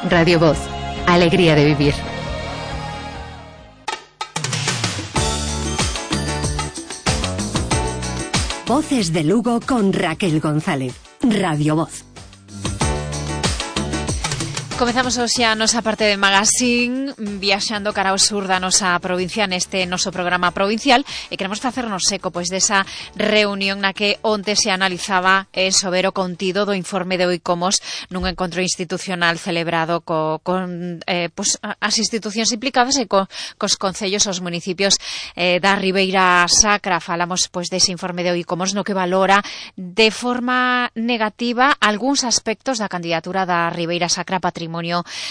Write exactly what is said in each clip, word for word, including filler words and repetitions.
Radio Voz, alegría de vivir. Voces de Lugo con Raquel González. Radio Voz. Comezamos hoxe a nosa parte de magazine viaxando cara ao sur da nosa provincia neste noso programa provincial e queremos facernos eco pois desa reunión na que onte se analizaba eh, sobre o contido do informe de Oicomos nun encontro institucional celebrado co, con eh, pois, as institucións implicadas e co, cos concellos, os municipios eh, da Ribeira Sacra. Falamos pois dese informe de Oicomos no que valora de forma negativa algúns aspectos da candidatura da Ribeira Sacra Patrimonio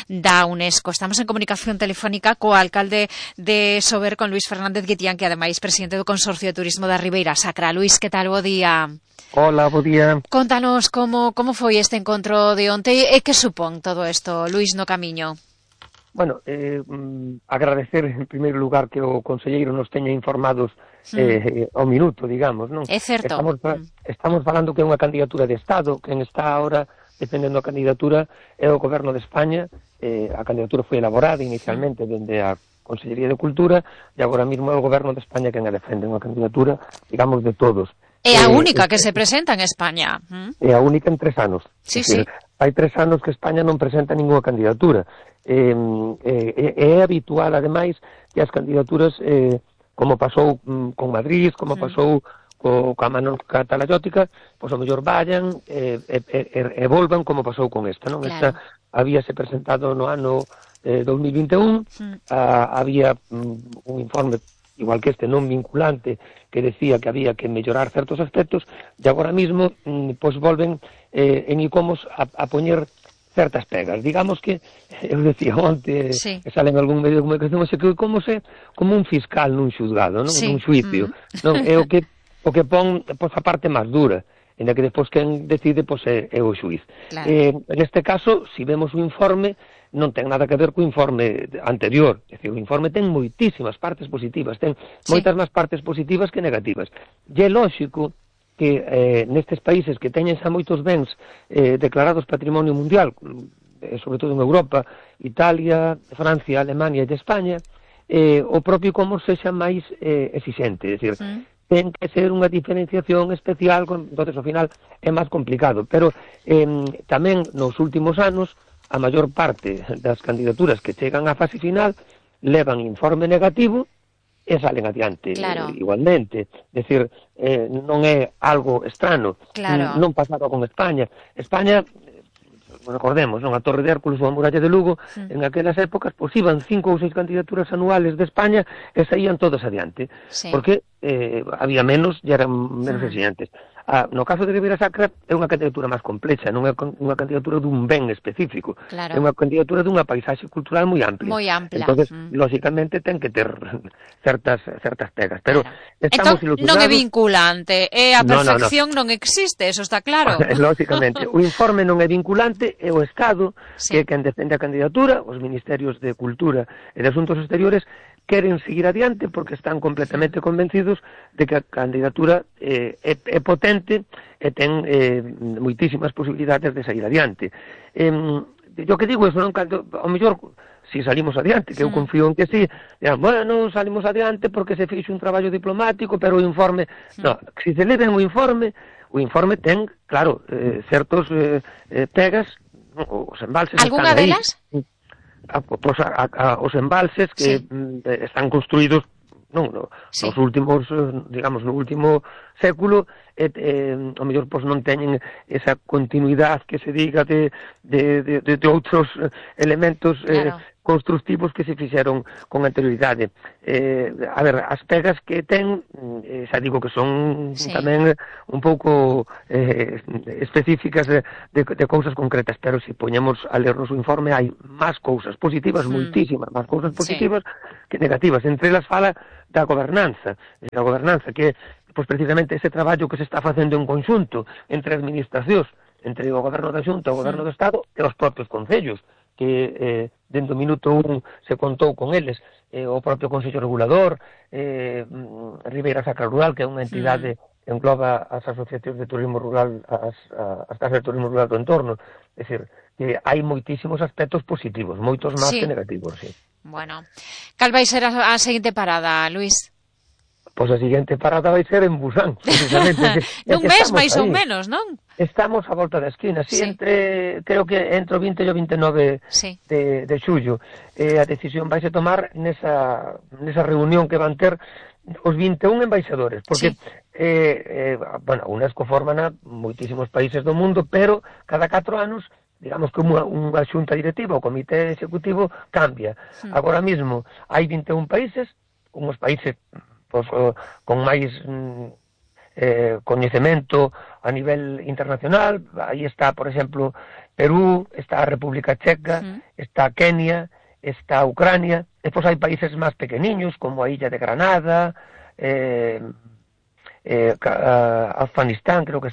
da UNESCO. Estamos en comunicación telefónica co alcalde de Sober, con Luís Fernández Guitián, que ademais presidente do Consorcio de Turismo da Ribeira Sacra. Luís, que tal? Bo día. Hola, bo día. Contanos como, como foi este encontro de onte e que supón todo isto, Luís, no camiño. Bueno, eh, agradecer en primeiro lugar que o conselleiro nos teña informados eh, mm. ao minuto, digamos, non? É certo. Estamos, estamos falando que é unha candidatura de Estado, quen está ahora defendendo a candidatura é o Goberno de España. Eh, a candidatura foi elaborada inicialmente dende a Consellería de Cultura e agora mesmo é o Goberno de España quen a defende, unha candidatura, digamos, de todos. É a eh, única eh, que se presenta en España. É a única en tres anos. Sí, decir, sí. Hai tres anos que España non presenta ninguna candidatura. Eh, eh, é habitual, ademais, que as candidaturas, eh, como pasou mm, con Madrid, como sí. pasou co, coa Mano Catalayótica, pois ao mellor vayan e, e, e, e volvan como pasou con esta, non? Claro. Esta habíase presentado no ano eh, dos mil vinte e un, mm. ah, había mm, un informe igual que este non vinculante que decía que había que mellorar certos aspectos e agora mesmo mm, pois volven eh, en Oicomos a, a poñer certas pegas. Digamos que, eu decía onte, sí. que sale en algún medio de comunicación, que Oicomos é como un fiscal nun xuzgado, non? Sí. Nun xuicio. Mm. Non? É o que o que pon pois, a parte máis dura, en a que despois quen decide pois, é, é o xuiz. Claro. Eh, neste caso, se si vemos o informe, non ten nada que ver co informe anterior. É dicir, o informe ten moitísimas partes positivas, ten sí. moitas máis partes positivas que negativas. E é lóxico que eh, nestes países que teñen xa moitos bens eh, declarados patrimonio mundial, eh, sobre todo en Europa, Italia, Francia, Alemania e España, eh, o propio Comos sexa máis eh, exixente, é dicir, sí. ten que ser unha diferenciación especial, entonces ao final é máis complicado, pero eh, tamén nos últimos anos a maior parte das candidaturas que chegan á fase final levan informe negativo e salen adiante. Claro. Eh, igualmente, decir, eh, non é algo estrano, claro. non pasaba con España. España, recordemos, non, a Torre de Hércules ou a Muralla de Lugo, sí. en aquelas épocas, pois iban cinco ou seis candidaturas anuales de España e saían todas adiante, sí. porque eh, había menos e eran menos sí. exigentes. Ah, no caso de Ribeira Sacra é unha candidatura máis complexa, non é unha candidatura dun ben específico, claro. é unha candidatura dunha paisaxe cultural moi amplia. Moi ampla. Entonces, mm. lógicamente, ten que ter certas certas pegas, pero claro. estamos entón, ilusionados. Non é vinculante, é a perfección no, no, no. non existe, eso está claro. Lógicamente, o informe non é vinculante, é o Estado sí. que é quen defende a candidatura, os Ministerios de Cultura e de Asuntos Exteriores queren seguir adiante porque están completamente convencidos de que a candidatura eh, é, é potente e ten eh, moitísimas posibilidades de sair adiante. Eh, yo que digo, eso non canto, ao mellor, si salimos adiante, que eu confío en que sí, dirán, bueno, salimos adiante porque se fixo un traballo diplomático, pero o informe, no, se se leven o informe, o informe ten, claro, eh, certos eh, eh, pegas, os embalses Alguna están aí. delas? A, pues a, a, os embalses que sí. mm, están construídos non, no, sí. nos últimos, digamos, no último século, eh, eh, ao mellor pois non teñen esa continuidade que se diga de, de, de, de, de outros elementos eh, claro. constructivos que se fixeron con anterioridade. Eh, a ver, as pegas que ten, eh, xa digo que son sí. tamén un pouco eh, específicas de, de, de cousas concretas, pero se poñemos a lernos o informe hai máis cousas positivas, mm. moitísimas máis cousas positivas sí. que negativas. Entre elas fala da gobernanza, da gobernanza que pois precisamente ese traballo que se está facendo en conxunto entre administracións, entre o goberno da Xunta, o goberno do Estado e os propios concellos, que eh, dentro do minuto un se contou con eles, eh, o propio Consello Regulador, eh, Ribeira Sacra Rural, que é unha entidade que engloba as asociacións de turismo rural, as, as casas de turismo rural do entorno, é dicir, que hai moitísimos aspectos positivos, moitos máis sí. que negativos, sí. Bueno, cal vai ser a, a seguinte parada, Luís? Pois a seguinte parada vai ser en Busan, precisamente. Nun mes máis ou menos, non? Estamos a volta da esquina, sí, sí. entre, creo que entre o vinte e o vinte e nove sí. de, de xullo. Eh, a decisión vai se tomar nesa, nesa reunión que van ter os vinte e un embaixadores, porque, sí. eh, eh, bueno, a UNESCO forman moitísimos países do mundo, pero cada catro anos, digamos que unha, unha xunta directiva, o comité executivo, cambia. Sí. Agora mesmo hai vinte e un países, unhos países pues, con máis eh, coñecemento a nivel internacional. Aí está, por exemplo, Perú, está a República Checa, uh-huh. está Kenia, está Ucrania, e pois hai países máis pequeniños, como a Illa de Granada, eh, eh, Afganistán, creo que